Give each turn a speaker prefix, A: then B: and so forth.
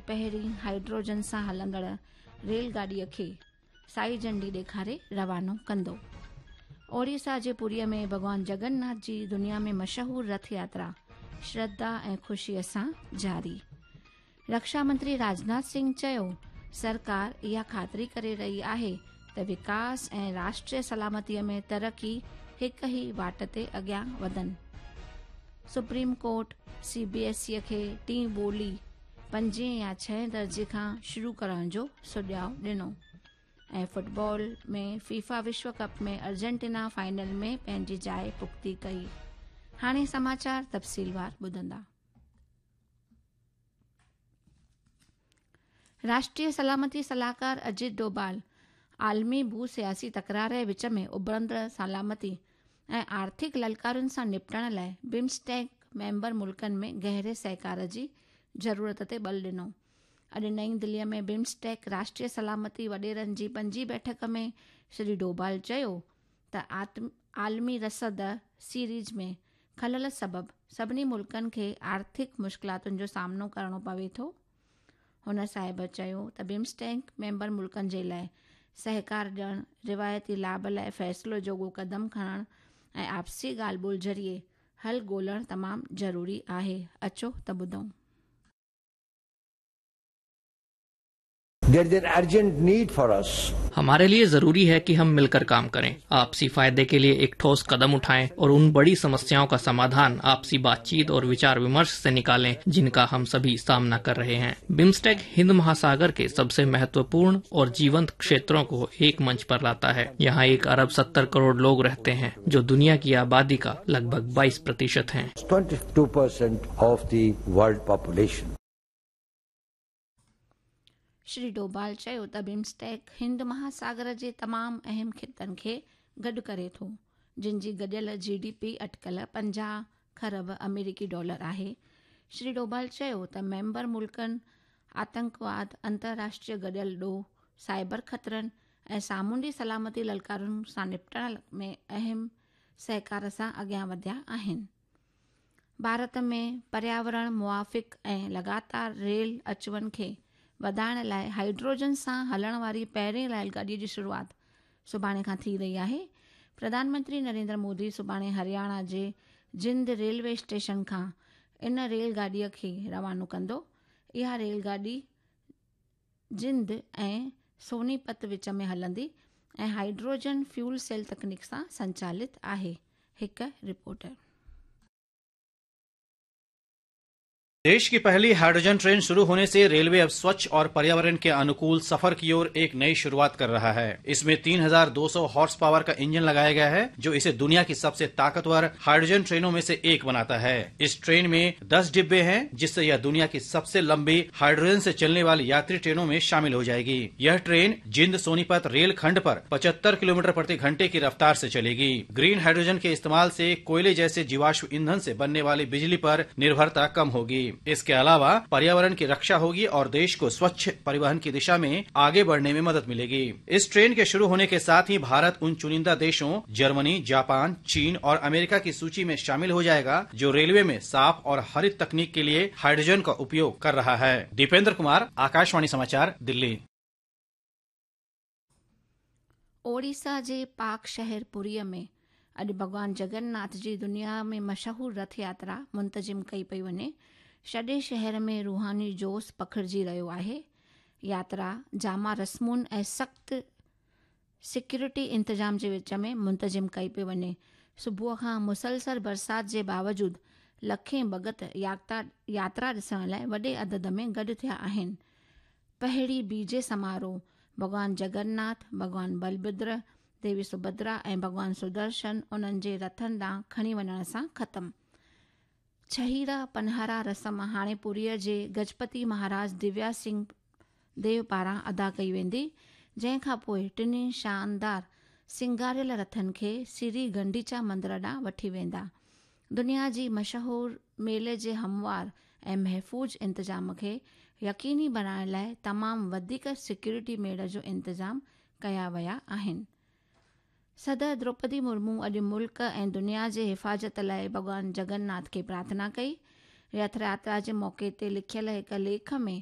A: پهرين هائيڊروجن سان هلندڙ ريل گاڏيء کي سائي جهنڊي ڏيکاري روانو ڪندو. اوڙيسا جي پوريء ۾ ڀڳوان جگن ناٿ جي دنيا ۾ مشهور رٿ ياترا شرڌا ۽ خوشيء سان جاري. رڪشا منتري راجناٿ سنگهه چيو، سرڪار اها خاطري ڪري رهي آهي ته وڪاس ۽ راشٽريه سلامتي ۾ ترقي هڪ ئي واٽ تي اڳيان وڌن. Supreme court C B S E کي ٽين ٻولي پنجين يا ڇهين درجي کان شروع ڪرڻ جو سجهاء ڏنو ۽ فٽبال ۾ فيفا وشو ڪپ ۾ ارجنٽينا فائنل ۾ پنهنجي جاء پختي ڪئي. هاڻي سماچار تفصيلوار ٻڌندا. راشٽريه سلامتي صلاحڪار اجيت ڊوڀال عالمي ڀو سياسي تڪرار جي وچ ۾ اڀرندڙ سلامتي ۽ آرٿڪ للڪارن سان نپٽڻ لاء بمسٽيڪ ميمبر ملڪن ۾ گهري سهڪار جي ضرورت تي ٻل ڏنو. اڄ نئين دلي ۾ بمسٽيڪ راشٽريه سلامتي وڏيرن جي پنجين بيٺڪ ۾ شري ڊوڀال چيو ته عالمي رسد سيريز ۾ خلل سبب سڀني ملڪن کي آرٿڪ مشڪلاتن جو سامنو ڪرڻو پوي ٿو. هن صاحب چيو ته بمسٽيڪ ميمبر ملڪن جي لاء سهڪار ڏيڻ، روايتي لاڀ لاء فيصلو جوڳو قدم کڻڻ ۽ آپسي ڳالهه ٻولهه ذريعي حل ڳولڻ تمام ضروري آهي. اچو ته ٻڌون.
B: There is an urgent need for us.
C: हमारे लिए जरूरी है कि हम मिलकर काम करें, आपसी फायदे के लिए एक ठोस कदम उठाएं और उन बड़ी समस्याओं का समाधान आपसी बातचीत और विचार विमर्श से निकालें जिनका हम सभी सामना कर रहे हैं। बिम्स्टेक हिंद महासागर के सबसे महत्वपूर्ण और जीवंत क्षेत्रों को एक मंच पर लाता है। यहाँ 1 अरब 70 करोड़ लोग रहते हैं, जो दुनिया की आबादी का लगभग 22% हैं।
B: 22% of the world population.
A: Shri Doval چيو ته بمسٽيڪ هند مهاساگر جي تمام اهم خطن کي گڏ ڪري ٿو، جن جي گڏيل جي ڊي پي اٽڪل 50 کرب آمريڪي ڊالر آهي. شري ڊوڀال چيو ته ميمبر ملڪن آتنڪواد، انترراشٽريه گڏيل ڏوهه، سائبر خطرن ۽ سامونڊي سلامتي للڪارن سان نپٽڻ ۾ اهم سهڪار سان اڳيان وڌيا آهن. ڀارت ۾ پرياورڻ موافق ۽ لڳاتار ريل اچ وڃ کي وڌائڻ لاء هائيڊروجن سان هلڻ واري پهرين ريل گاڏي جي شروعات سڀاڻي کان ٿي رهي آهي. پرڌان منتري نريندر مودي سڀاڻي هرياڻا جي جند ريلوي اسٽيشن کان ان ريل گاڏي کي روانو ڪندو. اها ريل گاڏي جند ۽ سونيپت وچ ۾ هلندي ۽ هائيڊروجن فيول سيل تڪنيڪ سان سنچالت آهي. هڪ رپورٽ.
D: देश की पहली हाइड्रोजन ट्रेन शुरू होने से रेलवे अब स्वच्छ और पर्यावरण के अनुकूल सफर की ओर एक नई शुरुआत कर रहा है। इसमें 3200 हॉर्स पावर का इंजन लगाया गया है, जो इसे दुनिया की सबसे ताकतवर हाइड्रोजन ट्रेनों में से एक बनाता है। इस ट्रेन में 10 डिब्बे हैं, जिससे यह दुनिया की सबसे लंबी हाइड्रोजन से चलने वाली यात्री ट्रेनों में शामिल हो जाएगी। यह ट्रेन जिंद सोनीपत रेल खंड पर 75 किलोमीटर प्रति घंटे की रफ्तार से चलेगी। ग्रीन हाइड्रोजन के इस्तेमाल से कोयले जैसे जीवाश्म ईंधन से बनने वाली बिजली पर निर्भरता कम होगी। इसके अलावा पर्यावरण की रक्षा होगी और देश को स्वच्छ परिवहन की दिशा में आगे बढ़ने में मदद मिलेगी। इस ट्रेन के शुरू होने के साथ ही भारत उन चुनिंदा देशों जर्मनी, जापान, चीन और अमेरिका की सूची में शामिल हो जाएगा, जो रेलवे में साफ और हरित तकनीक के लिए हाइड्रोजन का उपयोग कर रहा है। दीपेंद्र कुमार, आकाशवाणी समाचार, दिल्ली।
A: ओडिशा जे पाक शहर पुरीءَ ۾ اڄ ڀڳوان جگن ناٿ جي دنيا ۾ مشهور رٿ ياترا منتظم ڪئي پئي وڃي. سڄي شهر ۾ روحاني جوش پکڙجي رهيو آهي. ياترا جامع رسمن ۽ سخت سيڪيورٽي انتظام جي وچ ۾ منتظم ڪئي پئي وڃي. صبح کان مسلسل برسات جي باوجود لکين ڀڳت ياترا ڏسڻ لاءِ وڏي عدد ۾ گڏ ٿيا آهن. پهرين بيجي سماروهه ڀڳوان جگن ناٿ، ڀڳوان بلڀدر، ديوي سڀدرا ۽ ڀڳوان سدرشن انهن جي رٿن ڏانهن کڻي وڃڻ سان ختم. ڇهيرا پنهارا رسم هاڻي پوريء جي گجپتي مهاراج دويا سنگهه ديو پاران ادا ڪئي ويندي، جنهن کان پوءِ ٽنهي شاندار سينگاريل رٿن کي سري گنڊيچا مندر ڏانهن وٺي ويندا. دنيا جي مشهور ميلي جي هموار ۽ محفوظ انتظام کي يقيني بڻائڻ لاءِ تمام وڌيڪ سيڪيورٽي ميڙ جو انتظام ڪيا ويا آهن. صدر دروپدي مرمو اڄ ملڪ ۽ دنيا جي حفاظت لاءِ ڀڳوان جگن ناٿ کي پرارٿنا ڪئي. رٿ ياترا جي موقعي تي لکيل هڪ ليک ۾